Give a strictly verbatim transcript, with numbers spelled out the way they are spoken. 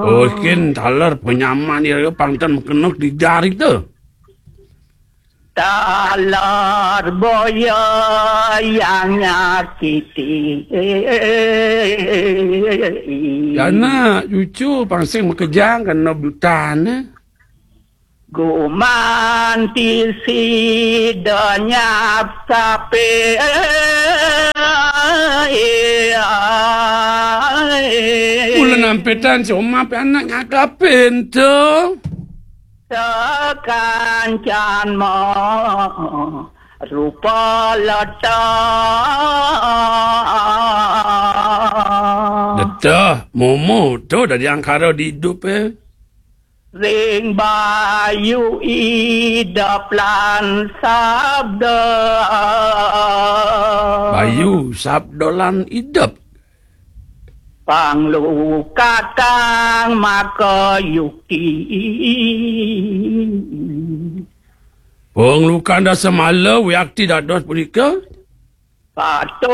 Oh, kin taler penyaman ira pang ten mekena kedijar ita. Taler boya yang nyakiti. Anak cucu pang sing makejang kena butan, eh. Gumanti sida nyap sape. Mula nampitan si Omah pe anak nyakapin tu. Sakancan mo rupa letah. Letah, momo tu dadi angkara di idup, eh. Ring bayu idep lan sabda. Bayu, sabda lan idep. Panglukatang maka yukti. Panglukan dasa mala wiakti dados punika. Patut